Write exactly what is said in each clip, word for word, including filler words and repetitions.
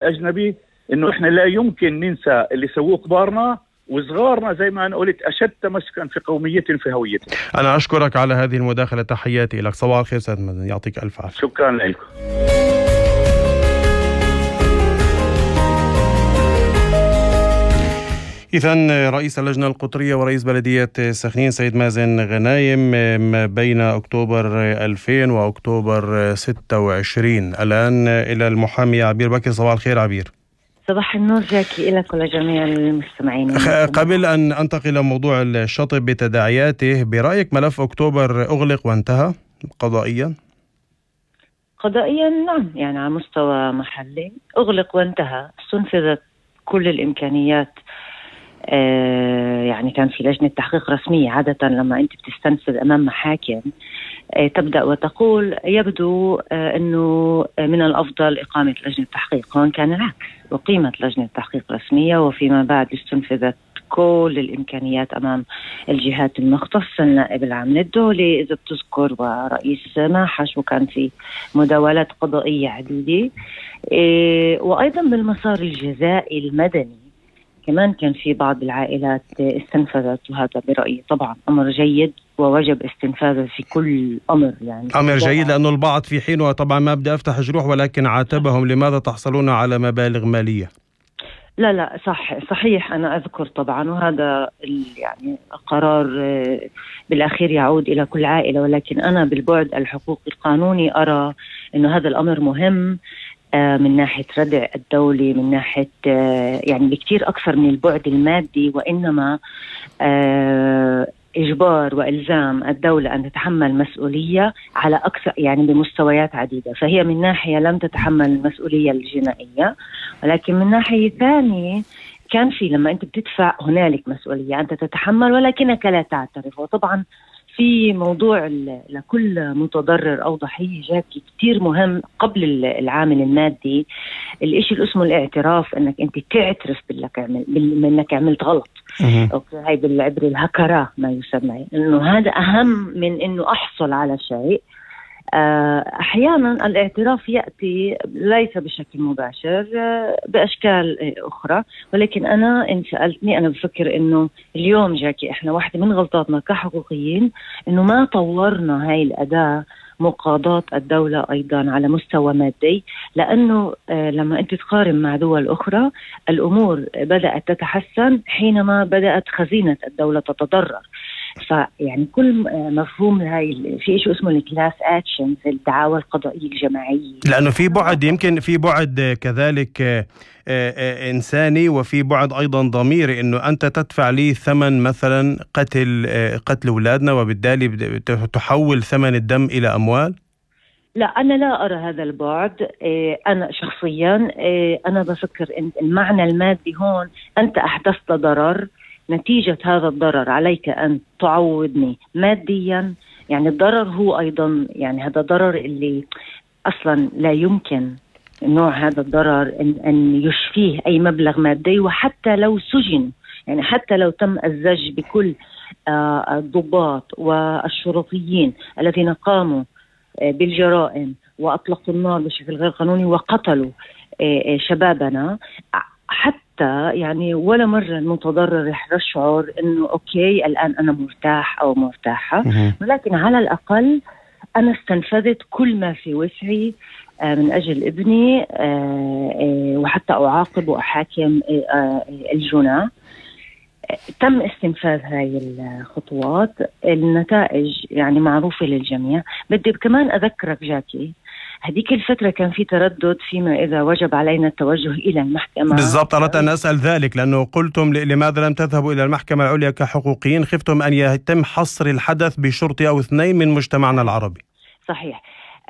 أجنبي، إنه إحنا لا يمكن ننسى اللي سووه كبارنا، وصغارنا زي ما أنا قلت أشد تمسكا في قوميتهم في هويتهم. أنا أشكرك على هذه المداخلة، تحياتي لك. صباح الخير سيد مازن، يعطيك ألف عافية. شكرا لكم. إذن رئيس اللجنة القطرية ورئيس بلدية سخنين سيد مازن غنايم ما بين أكتوبر ألفين وأكتوبر ستة وعشرين. الآن إلى المحامي عبير بكر. صباح الخير عبير. صباح النور جاكي لك ولجميع المستمعين. قبل أن أنتقل إلى موضوع الشطب بتداعياته، برأيك ملف أكتوبر أغلق وانتهى قضائيا؟ قضائيا نعم، يعني على مستوى محلي أغلق وانتهى، استنفذت كل الإمكانيات. آه يعني كان في لجنة تحقيق رسمية. عادة لما أنت بتستنفذ أمام محاكم آه تبدأ وتقول يبدو آه أنه من الأفضل إقامة لجنة تحقيق. هون كان العكس، وقيمت لجنة تحقيق رسمية، وفيما بعد استنفذت كل الإمكانيات أمام الجهات المختصة، النائب العام للدولة إذا بتذكر ورئيس ماحش، وكان في مداولات قضائية عديدة. آه وأيضا بالمسار الجزائي المدني كمان كان في بعض العائلات استنفذت، وهذا برأيي طبعا أمر جيد ووجب استنفاذه في كل أمر. يعني أمر جيد، لأنه البعض في حين طبعا ما بدي أفتح جروح، ولكن عاتبهم لماذا تحصلون على مبالغ مالية. لا لا صح صحيح، أنا أذكر طبعا، وهذا يعني قرار بالأخير يعود إلى كل عائلة، ولكن أنا بالبعد الحقوقي القانوني أرى أنه هذا الأمر مهم من ناحية ردع الدولة، من ناحية يعني بكتير أكثر من البعد المادي، وإنما إجبار وإلزام الدولة أن تتحمل مسؤولية على أكثر، يعني بمستويات عديدة. فهي من ناحية لم تتحمل المسؤولية الجنائية، ولكن من ناحية ثانية كان في لما أنت بتدفع هنالك مسؤولية أنت تتحمل ولكنك لا تعترف. وطبعا في موضوع لكل متضرر أو ضحية جاكي كتير مهم قبل العامل المادي الإشي اللي اسمه الاعتراف، أنك أنت تعترف باللك عمل بأنك عملت غلط. أوكي، هاي بالعبر الهكرة ما يسمى، إنه هذا أهم من إنه أحصل على شيء. أحيانا الاعتراف يأتي ليس بشكل مباشر، بأشكال أخرى، ولكن أنا إن سألتني أنا بفكر إنه اليوم جاكي إحنا واحدة من غلطاتنا كحقوقيين إنه ما طورنا هاي الأداة مقاضاة الدولة أيضا على مستوى مادي، لأنه لما أنت تقارن مع دول أخرى الأمور بدأت تتحسن حينما بدأت خزينة الدولة تتضرر. فيعني كل مفهوم هاي في شيء اسمه الكلاس اكشن في الدعاوى القضائية الجماعية، لأنه في بعد يمكن في بعد كذلك إنساني، وفي بعد أيضا ضميري، إنه أنت تدفع لي ثمن مثلا قتل قتل أولادنا، وبالتالي تحول ثمن الدم إلى أموال. لا أنا لا أرى هذا البعد. أنا شخصيا أنا بفكر إن المعنى المادي هون أنت أحدثت ضرر، نتيجة هذا الضرر عليك أن تعوضني ماديا. يعني الضرر هو أيضا يعني هذا ضرر اللي أصلا لا يمكن نوع هذا الضرر إن, أن يشفيه أي مبلغ مادي، وحتى لو سجن، يعني حتى لو تم الزج بكل آه الضباط والشرطيين الذين قاموا آه بالجرائم وأطلقوا النار بشكل غير قانوني وقتلوا آه آه شبابنا، حتى يعني ولا مرة المتضرر رح يشعر إنه أوكي الآن أنا مرتاح أو مرتاحة، ولكن على الأقل أنا استنفذت كل ما في وسعي من أجل ابني، وحتى أعاقب وأحاكم الجناة. تم استنفاذ هاي الخطوات، النتائج يعني معروفة للجميع. بدي كمان أذكرك جاكي هذيك الفترة كان في تردد فيما إذا وجب علينا التوجه إلى المحكمة. بالضبط، أردت أن أسأل ذلك، لأنه قلتم لماذا لم تذهبوا إلى المحكمة العليا كحقوقيين؟ خفتم أن يتم حصر الحدث بشرطي أو اثنين من مجتمعنا العربي. صحيح.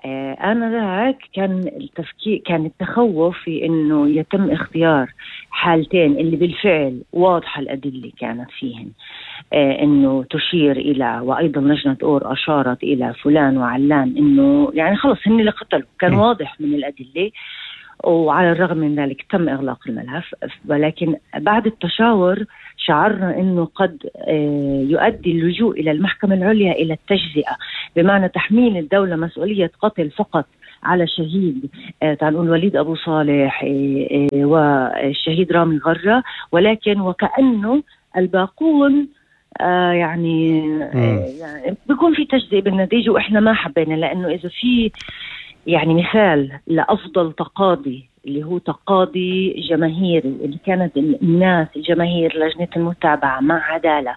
آه أنا ذاك كان التفكير كان التخوف في إنه يتم اختيار حالتين اللي بالفعل واضحة الأدلة كانت فيهن، آه إنه تشير إلى، وأيضا لجنة أور أشارت إلى فلان وعلان، إنه يعني خلص هن اللي قتلوا، كان واضح من الأدلة. وعلى الرغم من ذلك تم إغلاق الملف، ولكن بعد التشاور شعرنا أنه قد يؤدي اللجوء إلى المحكمة العليا إلى التجزئة، بمعنى تحميل الدولة مسؤولية قتل فقط على شهيد تعال نقول وليد أبو صالح والشهيد رامي غرة، ولكن وكأنه الباقون آه يعني, آه يعني بيكون في تجزئة بالنتيجة، وإحنا ما حبينا، لأنه إذا في يعني مثال لأفضل تقاضي اللي هو تقاضي جماهيري، اللي كانت الناس الجماهير لجنة المتابعة مع عدالة،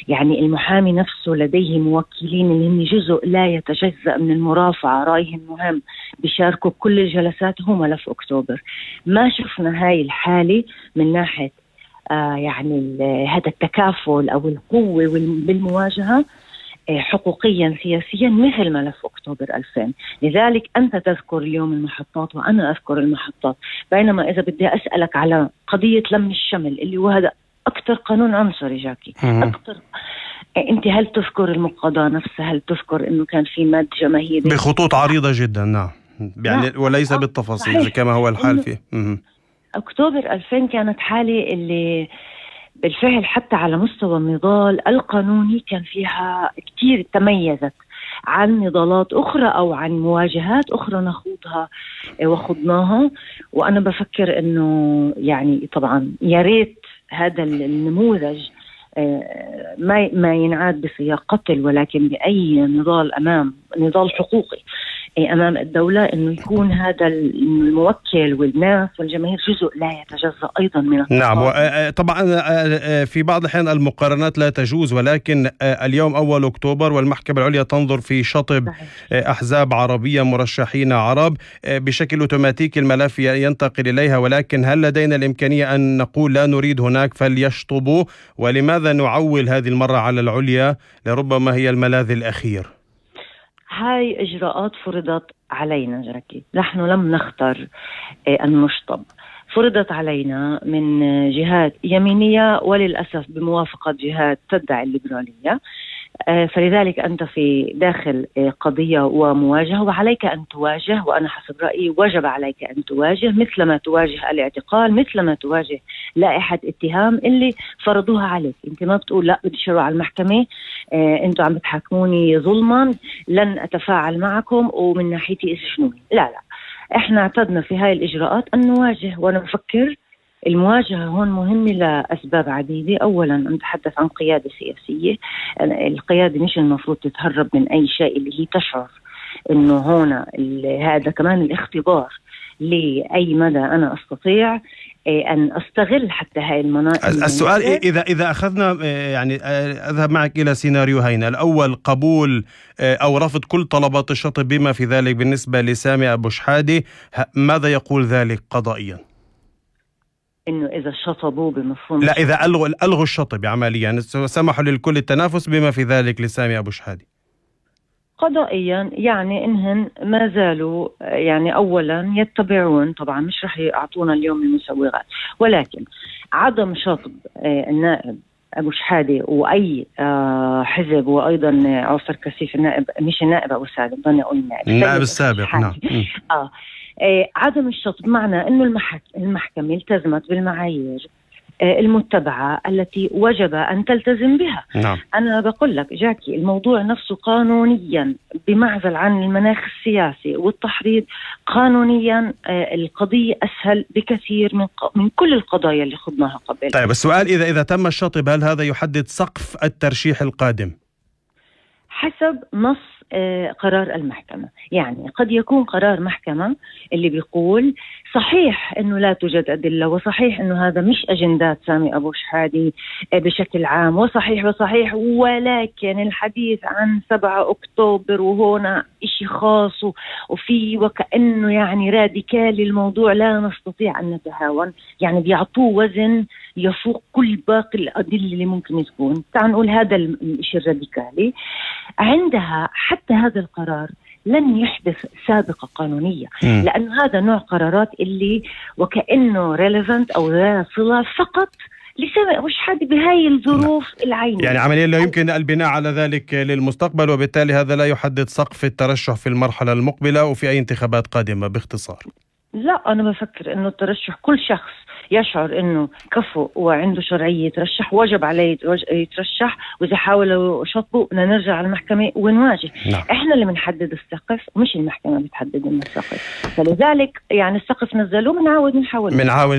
يعني المحامي نفسه لديه موكلين اللي هم جزء لا يتجزأ من المرافعة، رأيهم مهم، بيشاركوا بكل الجلسات، هو ملف أكتوبر. ما شفنا هاي الحالة من ناحية آه يعني هذا التكافل أو القوة بالمواجهة حقوقيا سياسيا مثل ملف أكتوبر ألفين. لذلك أنت تذكر اليوم المحطات وأنا أذكر المحطات، بينما إذا بدي أسألك على قضية لم الشمل اللي هو هذا أكثر قانون عنصري جاكي أكثر، أنت هل تذكر المقاضاة نفسها؟ هل تذكر إنه كان في مد جماهيري بخطوط عريضة جدا؟ نعم يعني لا. وليس بالتفاصيل صحيح. كما هو الحال فيه أكتوبر ألفين كانت حالة اللي بالفعل حتى على مستوى النضال القانوني كان فيها كتير تميزت عن نضالات أخرى أو عن مواجهات أخرى نخوضها وخضناها. وأنا بفكر أنه يعني طبعا يا ريت هذا النموذج ما ما ينعاد بسياق قتل، ولكن بأي نضال أمام نضال حقوقي أمام الدولة، إنه يكون هذا الموكل والناس والجماهير جزء لا يتجزأ أيضا من التقاضي. نعم طبعا في بعض الأحيان المقارنات لا تجوز، ولكن اليوم أول أكتوبر والمحكمة العليا تنظر في شطب أحزاب عربية مرشحين عرب، بشكل أوتوماتيكي الملف ينتقل إليها، ولكن هل لدينا الإمكانية أن نقول لا نريد هناك فليشطبوا؟ ولماذا نعول هذه المرة على العليا؟ لربما هي الملاذ الأخير. هاي إجراءات فرضت علينا جاكي، نحن لم نختر أن نشطب، فرضت علينا من جهات يمينية وللأسف بموافقة جهات تدعي الليبرالية. فلذلك أنت في داخل قضية ومواجهة، وعليك أن تواجه، وأنا حسب رأيي وجب عليك أن تواجه مثلما تواجه الاعتقال، مثلما تواجه لائحة اتهام اللي فرضوها عليك. أنت ما بتقول لا بدي شروع على المحكمة، أنتوا عم بتحاكموني ظلما لن أتفاعل معكم ومن ناحيتي اسجنوني. لا لا، احنا اعتدنا في هاي الإجراءات أن نواجه، وأنا بفكر المواجهة هون مهمة لأسباب عديدة. أولا نتحدث عن قيادة سياسية، القيادة مش المفروض تتهرب من أي شيء، اللي هي تشعر أنه هنا هذا كمان الاختبار لأي مدى أنا أستطيع أن أستغل حتى هاي المناطق. السؤال إذا إذا أخذنا يعني أذهب معك إلى سيناريوهين، الأول قبول أو رفض كل طلبات الشطب بما في ذلك بالنسبة لسامي أبو شحادة، ماذا يقول ذلك قضائيا؟ إنه إذا شطبوا بمفهوم لا إذا ألغوا ألغوا الشطب عمليا، سمحوا للكل التنافس بما في ذلك لسامي أبو شحادة قضائيا، يعني إنهن ما زالوا يعني أولا يتبعون، طبعا مش رح يعطونا اليوم المسوغات، ولكن عدم شطب النائب أبو شحادة وأي حزب، وأيضا عوفر كثيف النائب، مش النائب أبو سعد، ضني أقول النائب النائب السابق نعم آه آه عدم الشطب معنى أنه المحك... المحكمة التزمت بالمعايير آه المتبعة التي وجب أن تلتزم بها. نعم. أنا بقول لك جاكي الموضوع نفسه قانونيا بمعزل عن المناخ السياسي والتحريض، قانونيا آه القضية أسهل بكثير من, ق... من كل القضايا اللي خضناها قبل. طيب السؤال إذا إذا تم الشطب هل هذا يحدد سقف الترشيح القادم؟ حسب نص قرار المحكمة. يعني قد يكون قرار محكمة اللي بيقول صحيح أنه لا توجد أدلة، وصحيح أنه هذا مش أجندات سامي أبو شحادة بشكل عام، وصحيح وصحيح ولكن الحديث عن سبعة أكتوبر وهنا إشي خاص وفي وكأنه يعني راديكالي الموضوع، لا نستطيع أن نتهاون، يعني بيعطوه وزن يفوق كل باقي الأدلة اللي ممكن تكون. تعال نقول هذا الشيء الراديكالي، عندها حتى هذا القرار لن يحدث سابقة قانونية، لأنه هذا نوع قرارات اللي وكأنه relevant أو ذا صلة فقط لسامي أبو شحادة بهاي الظروف العينية، يعني عمليا لا يمكن البناء على ذلك للمستقبل، وبالتالي هذا لا يحدد سقف الترشح في المرحلة المقبلة وفي أي انتخابات قادمة باختصار. لا، أنا بفكر أنه الترشح كل شخص يشعر انه كفؤ وعنده شرعيه يترشح وجب عليه يترشح، واذا حاولوا شطبوا بدنا نرجع على المحكمه ونواجه. نعم. احنا اللي بنحدد السقف مش المحكمه بتحدد لنا السقف، فلذلك يعني السقف نزلوه بنعاود نحاول بنعاول